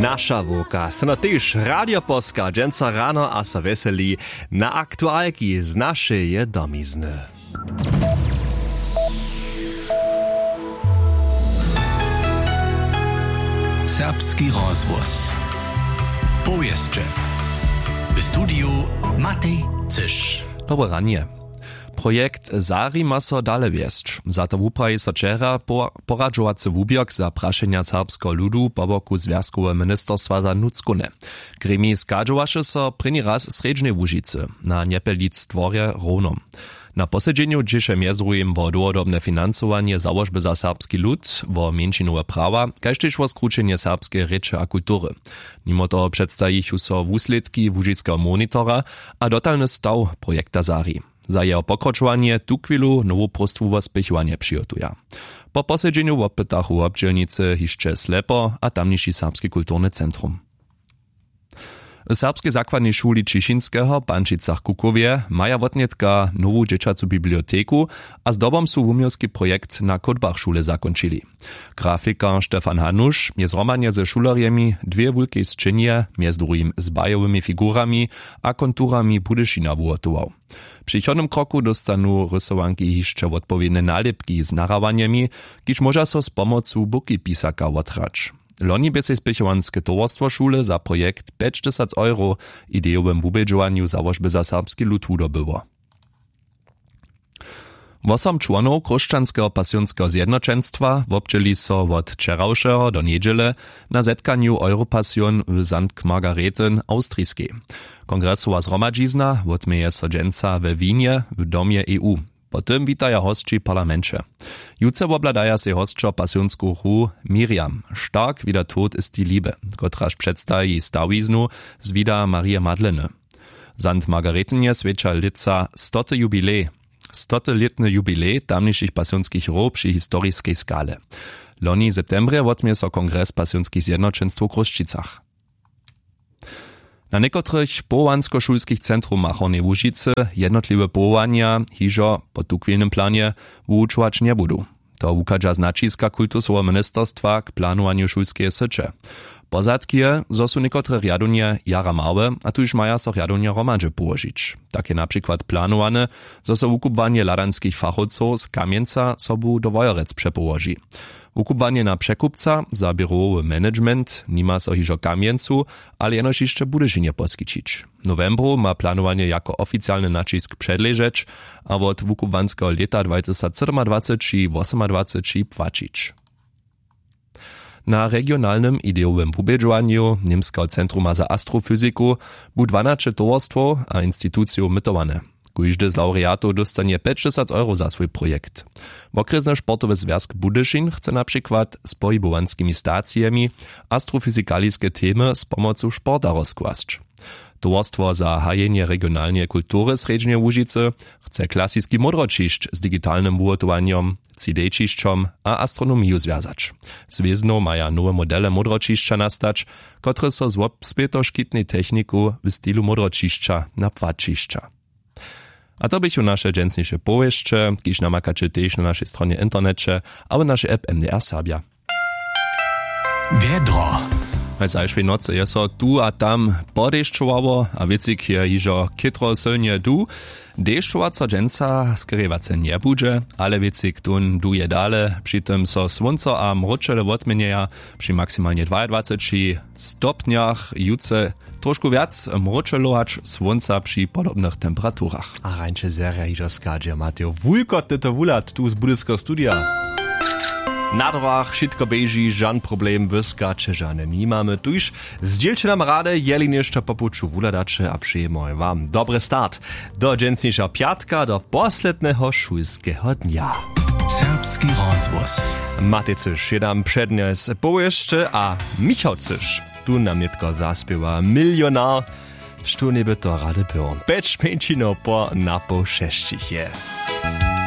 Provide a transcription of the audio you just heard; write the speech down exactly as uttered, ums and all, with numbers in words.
Naša wowka so na tež radioposka dźensa rano a so wjeseli na aktualki z našeje domizny. Serbski rozhłos. Powěsće. W studiju Matej Cyš. Dobre ranje. Projekt Sari ma so dale wjesć. Za to wupraji so wčera po-, poradźowacy wuběrk za prašenja serbskeho ludu po boku Zwjazkoweho ministerstwa za nutřkowne. Gremij schadźowaše so prěni raz w Srjedźnej Łužicy na Njepelic dworje Rownom. Na posedźenju dźěše mjez druhim wo dołhodobne financowanje załožby za serbski lud, wo mjeńšinowe prawa, kaž tež wo skrućenje serbskeje rěče a kultury. Nimo toho předstajichu so wuslědki łužiskeho monitora a dotalny staw projekta Sari. Za jeho pokročowanje tuchwilu nowu próstwu wo spěchowanje přihotuja. Po posedźenju wopytachu wobdźělnicy hišće Slepo a tamniši Serbski kulturny centrum. W serbskej zakładnej šuli Ćišinskeho w Pančicach-Kukowje maja wotnětka nowu dźěćacu biblioteku a zdobom su wuměłski projekt na kódbach šule zakónčili. Grafikar Stefan Hanuš je zhromadnje ze šulerjemi dwě wulkej sćenje, mjez druhim z bajowymi figurami a konturami Budyšina wuhotował. W přichodnym kroku dóstanu rysowanki hišće wotpowědne nalěpki z nahrawanjemi, kiž móža so z pomocu bukipisaka wothrać. Loni bě sej spěchowanske towarstwo šule za projekt pjećtysac euro w idejowym wubědźowanju załožby za serbski lud wudobyło. Wosom čłonow Chróšćanskeho pasionskeho zjednoćenstwa wobdźěli so wot wčerawšeho do njedźele na zetkanju Europasion w Sankt Margarethen Awstriskej. Kongresowa zhromadźizna wotměje so dźensa we Wienje w Domje E U. Po tym witaja hosći w parlamenće. Jutře wobhladaja sej hosćo pasionsku hru Miriam, stark wie der Tod ist die Liebe, kotraž předstaji stawiznu z wida Marije Madleny. Sankt Margaretenje swjeća lětsa stoty jubilej, stoty lětny jubilej tamnišich pasionskich hrow při historiskej skale. Loni w septembrje wotměje so kongres pasionskich zjednoćenstwow w Chrósćicach. Na někotrych powołanskošulskich centrumach Hornjeje Łužicy jednotliwe powołanja hižo po tuchwilnym planje wuwučować njebudu. To wuchadźa z naćiska kultusoweho ministerstwa k planowanju šulskeje syće. Pozadki je, zo su někotre rjadownje jara małe a tuž maja so rjadownje hromadźe połožić. Tak je na přikład planowane, zo so wukubłanje hladanskich fachowcow z Kamjenca sobu do Wojerec přepołoži. Wukubłanje na překupca za běrowowy management nima so hižo w Kamjencu, ale jenož hišće w Budyšinje poskićić. W nowembru ma planowanje jako oficialny naćisk předležeć a wot wukubłanskeho lěta dwatysacsydomadwaceći wosomadwaceći płaćić. Na regionalnym idejowym wubědźowanju Němskeho centruma za astrofyziku bu dwanaće towarstwow a institucijow mytowane. Kóždy z lawreatow dóstanje pjećtysac euro za swój projekt. Wokrjesny sportowy zwjazk Budyšin chce na přikład z pohibowanskimi stacijemi astrofyzikaliske temy z pomocu sporta rozkłasć. Towarstwo za hajenje regionalneje kultury Srjedźneje Łužicy chce klasiski módroćišć z digitalnym wuhotowanjom, C D-ćišćom a astronomiju zwjazać. Z wěznow maja nowe modele módroćišća nastać, kotrež so z wobspětoškitnej techniku w stilu módroćišća na płaćišća. A to běchu naše dźensniše powěsće, kiž namakaće tež na našej stronje w interneće abo našej app M D R Serbja. Wjedro. W zašłej nocy je so tu a tam podešćowało a wěcik je hižo chětro sylnje du. Dešćowaco dźensa skerjewace njebudźe, ale wěcik tón duje dale, při tym so słónco a mróčele wotměnjeja při maksimalnje dwajadwaceći stopnjach. Jutře trošku wjac mróčelować słónca při podobnych temperaturach. A rańše zerja hižo schadźe. Matej, wulkotny to wuhlad tu z budyskeho studija. Na drogach wšitko běži, žan problem, wyska će žane nimamy. Tuž zdźělće nam rady, jeli něšto po puću wuhladaće, a přejemy wam dobry start do dźensnišeho pjatka, do posledneho šulskeho dnja. Serbski rozhłos. Matej Cyš je nam přednjesł powěsće a Michał Cyš tu nam nětko zaspěwa Milionar. Štó njeby to rady było? Pjeć mjeńšinow po napoł šesćich je.